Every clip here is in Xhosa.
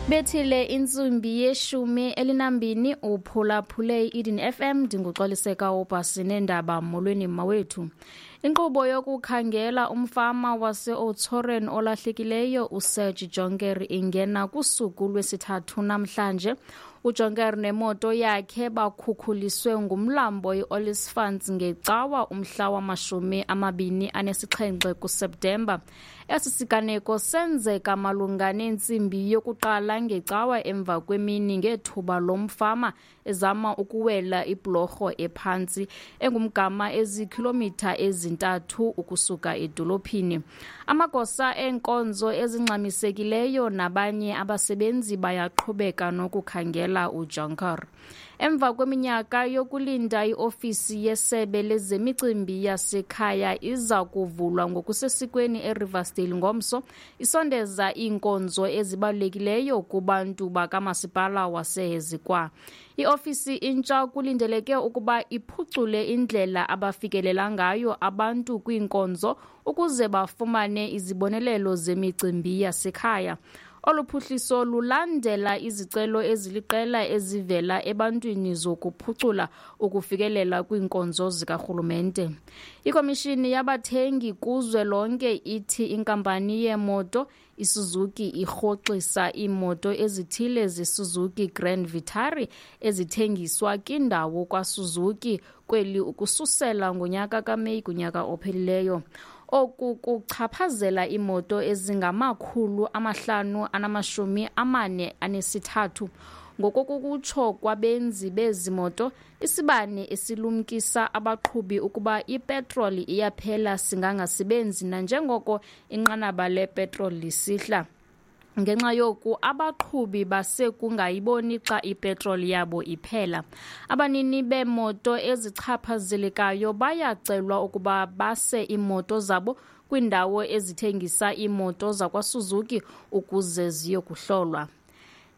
Bethile intsimbi ye-12 uphulaphule i-Eden FM. Ndinguxoliseka ubhasi neendaba. Molweni mawethu. Inkqubo yokukhangela umfama wase-Oudtshoorn olahlekileyo uSerge Jonker ingena kusuku lwesithathu namhlanje. UJonker nemoto yakhe bakhukhuliswe ngumlambo i-Olifants ngeCawa umhla wama-27 kuSeptemba. Esi siganeko senzeka malunga nentsimbi yokuqala ngeCawa emva kwemini ngethuba lo mfama ezama ukuwela ibhulorho ephantsi engumgama ezikhilomitha ezi-3 ukusuka edolophini. Amagosa eenkonzo ezingxamisekileyo nabanye abasebenzi bayaqhubeka nokukhangela uJonker. Emva kweminyaka yokulinda, iofisi yesebe lezemicimbi yasekhaya iza kuvulwa ngokusesikweni eRiversdale ngomso, isondeza iinkonzo ezibalulekileyo kubantu bakamasipala waseHezequah. Iofisi intsha kulindeleke ukuba iphucule indlela abafikelela ngayo abantu kwiinkonzo ukuze bafumane izibonelelo zemicimbi yasekhaya. Olu phuhliso lulandela izicelo eziliqela ezivela ebantwini zokuphucula ukufikelela kwiinkonzo zikarhulumente. Ikomishini yabathengi kuzwelonke ithi inkampani yeemoto iSuzuki irhoxisa iimoto ezithile zeSuzuki Grand Vitara ezithengiswa kwindawo kwaSuzuki kweli ukususela ngonyaka kaMeyi kunyaka ophelileyo. Oku kuchaphazela iimoto ezingama-543. Ngokokutsho kwabenzi bezi moto, isibane esilumkisa abaqhubi ukuba ipetroli iyaphela singangasebenzi nanjengoko inqanaba lepetroli lisihla. Ngenxa yoku, abaqhubi basekungayiboni xa ipetroli yabo iphela. Abanini beemoto ezichaphazelekayo bayacelwa ukuba base iimoto zabo kwiindawo ezithengisa iimoto zakwaSuzuki ukuze ziyokuhlolwa.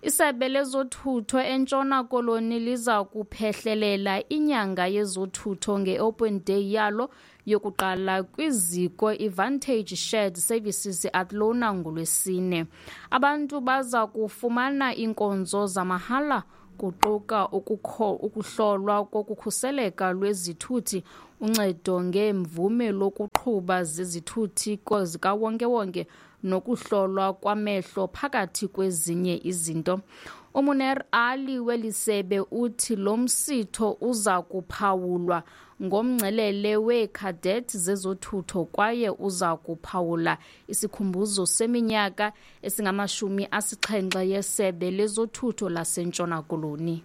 Isebe lezothutho eNtshona Koloni liza kuphehlelela inyanga yezothutho nge-Open Day yalo yokuqala kwiziko iVantage Shared Services Athlone ngoLwesine. Abantu baza kufumana iinkonzo zamahala, kuquka ukuhlolwa kokukhuseleka lwezithuthi, uncedo ngeemvume lokuqhuba zezithuthi zikawonkewonke nokuhlolwa kwamehlo, phakathi kwezinye izinto. UMuneer Ali weli sebe uthi lo msitho uza kuphawulwa ngomngcelele weekhadethi zezothutho kwaye uza kuphawula isikhumbuzo seminyaka esingama-70 yesebe lezothutho laseNtshona Koloni.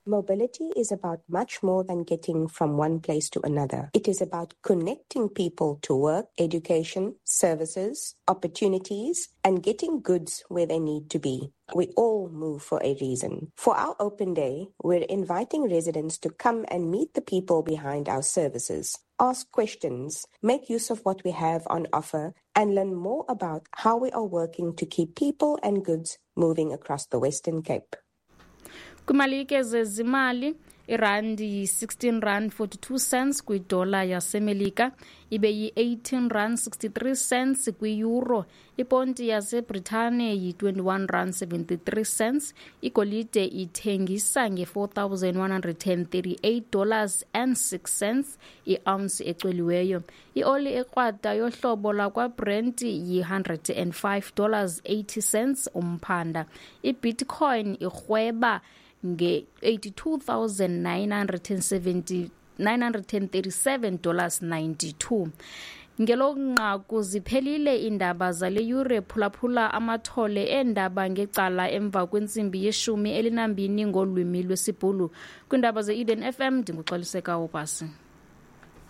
Mobility is about much more than getting from one place to another. It is about connecting people to work, education, services, opportunities, and getting goods where they need to be. We all move for a reason. For our open day, we're inviting residents to come and meet the people behind our services, ask questions, make use of what we have on offer, and learn more about how we are working to keep people and goods moving across the Western Cape. Kwimalike zezimali, irandi yi-16 rand 42 cents kwidola yaseMelika, ibe yi-18 rand 63 cents kwi-euro. Iponti yaseBritane yi-21 rand 73 cents. Igolide ithengisa nge-$4,138 and 6 cents i-ounce ecweliweyo. Ioli ekrwada yohlobo lakwaBrent yi-$105 80 cents umphanda. Ibitcoin irhweba nge-82,970 $937.92. Ngelo nqaku ziphelile iindaba zale yure. Phulaphula amathole eendaba ngecala emva kwentsimbi ye-12 ngolwimi lwesiBhulu. Kwiindaba ze-Eden FM, ndinguxoliseka ubhasi.